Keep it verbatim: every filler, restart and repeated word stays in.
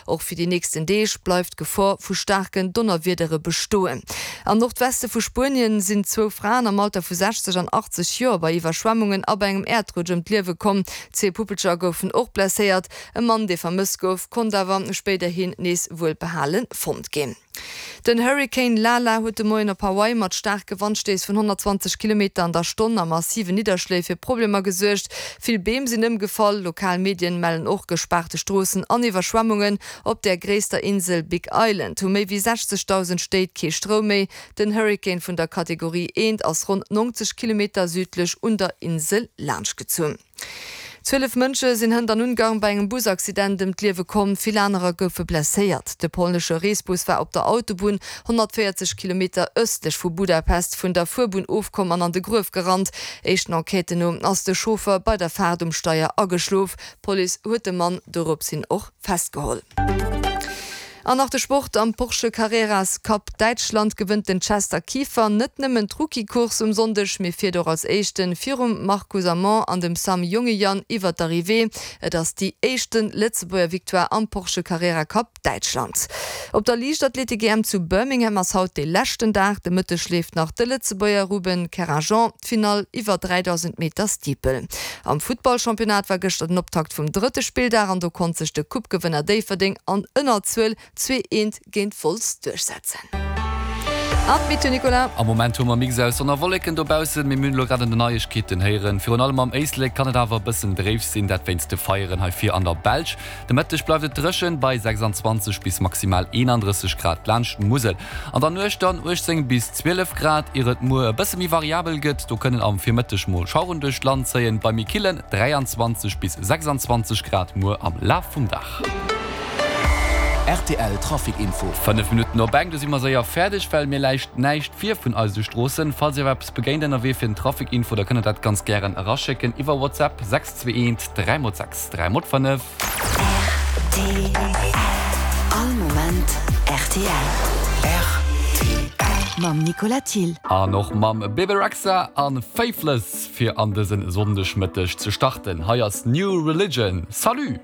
Och fir déi nächsten Deeg bleift d'Gefor vu staarken Donnerwiedere bestoen. Am Nordweste vu Spuenien sinn zwou Fraen am Alter vu sechzeg an achtzeg Joer bei Iwwerschwemmungen a bei engem Äerdrutsch ëm d'Liewe komm. Zwee Puppelcher goufen och blesséiert. E Mann, dee vermësst gouf, konnt awer spéiderhin nees wuelbehale fonnt ginn. Den Hurrikan Lala huet de Moien op Hawaii mat staarke Wandstéiss vun honnertzwanzeg Kilometer an der Stonn a massiven Nidderschléi fir Problemer gesuergt. Vill Beem sinn ëmgefall, lokal Medien mellen och gespaarte Stroossen an Iwwerschwemmungen. Op der gréisster Insel Big Island hu méi wéi sechzegdausend Stéit kee Stroum méi. Den Hurrikan vun der Kategorie eent ass ronn neunzeg Kilometer südlech un der Insel laanschtgezunn. Zwielef Mënsche sinn hënt an Ungarn bei engem Busaccident ëm d'Liewe komm, vill anerer goufe blesséiert. De polnesche Reesbus war op der Autobunn honnertvéierzeg Kilometer ëstlech vu Budapest vun der Fuerbunn ofkomm an an de Gruef gerannt. Éischten Enquêten no ass de Chauffer bei der Faart um Steier ageschlof. D'Police huet de Mann doropshin och festgeholl. An nach de Sport, Am Porsche Carreras Cup Däitschland gewënnt den Chester Kieffer net nëmmen d'Rookie-Course um Sonndeg, mee fiert och als Éischten virum Marcus Amont an dem Sam Jongejan iwwer d'Arrivée. Et ass déi éischte Lëtzebuerger Victoire am Porsche Carrera Cup Däitschland. Op der Liichtathletik-E M zu Birmingham ass haut dee leschten Dag. De Mëtteg leeft nach de Lëtzebuerger Ruben Kerrageon d'Finall iwwer dräidausend Meter Steeple. Am Futtball-Championnat war gëschter den Optakt vum drëtte Spilldag an do konnt sech de Coupe-Gewënner Déifferdeng an Ënnerzuel zwee eent géint Wolz duerchsetzen. An d'Meteo, Nicolas. Am Moment hu mer Mix aus Sonn a Wolleken dobaussen, mee mir hunn elo grad an den Neiegkeeten héieren, virun allem am Éislek kann et awer e bëssen dréif sinn, dat wéinst de Feieren hei vir an der Belsch. De Mëtteg bleift et dréchen bei sechsanzwanzeg bis maximal eenandrësseg Grad laanscht d'Musel. An der Nuecht dann uechtzéng bis zwielef Grad, ier et muer e bësse méi variabel gëtt. Do kënnen am Virmëtteg mol Schaueren duerch d'Land zéien, bei méi killen dräianzwanzeg bis sechsanzwanzeg Grad muer am Laf vum Dag. R T L Trafic Info. Fënnef Minutten op eng, do si mer séier fäerdeg, well mir läicht näischt vir vun eise Stroossen. Falls Dir awer eppes begéint ënnerwee fir den Trafic Info, da kënnt der dat ganz gären eraschécken iwwer WhatsApp sechs zwee eent dräi mol sechs dräi mol fënnef. R T L All Moment R T L. R T L. Mam Nicolas Thill. An och mam Bebe Rexha an Faithless fir an dësen Sonndegmëtteg ze starten. Hei ass New Religion. Salut!